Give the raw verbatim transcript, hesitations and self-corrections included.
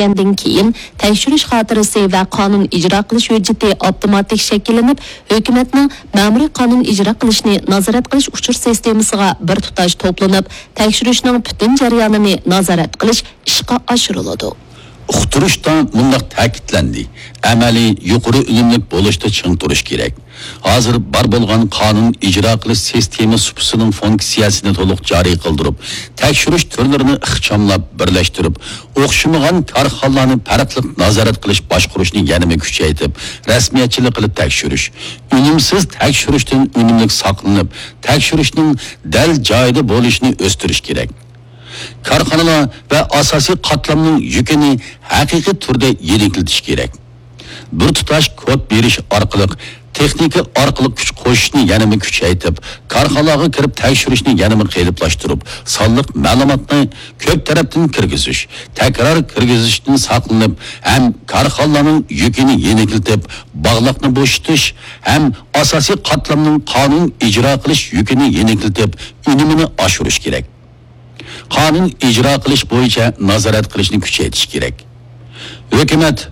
ئۆتكەندىن كېيىن، تەكشۈرۈش خاتىرىسى ۋە قانۇن ئىجرا قىلىش ھۆججىتى ئاپتوماتىك شەكىللىنىپ، ھۆكۈمەتنىڭ مەمۇرىي قانۇن ئىجرا قىلىشنى نازارەت قىلىش ئۇچۇر سىستېمىسىغا بىر تۇتاش توپلىنىپ، تەكشۈرۈشنىڭ پۈتۈن جەريانىنى نازارەت قىلىش ئىشقا ئاشۇرۇلىدۇ. ئۇقتۇرۇشتا مۇنداق تەكىتلەندى: ئەمەلىي يۇقىرى ئۈنۈملۈك بولۇشتا چىڭ تۇرۇش كېرەك. ھازىر بار بولغان قانۇن ئىجرا قىلىش سىستېما سۇپىسىنىڭ فۇنكسىيەسىنى تولۇق جارى قىلدۇرۇپ، تەكشۈرۈش تۈرلىرىنى ئىخچاملاپ بىرلەشتۈرۈپ، ئوخشىمىغان كارخانىلارنى پەرقلىق نازارەت قىلىش باشقۇرۇشنى يەنىمۇ كۈچەيتىپ، رەسمىيەتچىلىك قىلىپ تەكشۈرۈش، ئۈنۈمسىز تەكشۈرۈشتىن ئۈنۈملۈك ساقلىنىپ، تەكشۈرۈشنىڭ دەل جايىدا بولۇشىنى ئۆستۈرۈش كېرەك. كارخانىلار ۋە ئاساسىي قاتلامنىڭ يۈكىنى ھەقىقىي تۈردە يېنىكلىتىش كېرەك. بىر تۇتاش كود بېرىش ئارقىلىق، تېخنىكا ئارقىلىق كۈچ قوشۇشنى يەنىمۇ كۈچەيتىپ، كارخانىلارغا كىرىپ تەكشۈرۈشنى يەنىمۇ قېلىپلاشتۇرۇپ، سانلىق مەلۇماتنى كۆپ تەرەپتىن كىرگۈزۈش، تەكرار كىرگۈزۈشتىن ساقلىنىپ، ھەم كارخانىلارنىڭ يۈكىنى يېنىكلىتىپ، باغلاقنى بوشىتىش ھەم ئاساسىي قاتلامنىڭ قانۇن ئىجرا قىلىش يۈكىنى يېنىكلىتىپ، ئۈنۈمىنى ئاشۇرۇش كېرەك. قانۇن ئىجرا قىلىش بويىچە نازارەت قىلىشنى كۈچەيتىش كېرەك. ھۆكۈمەت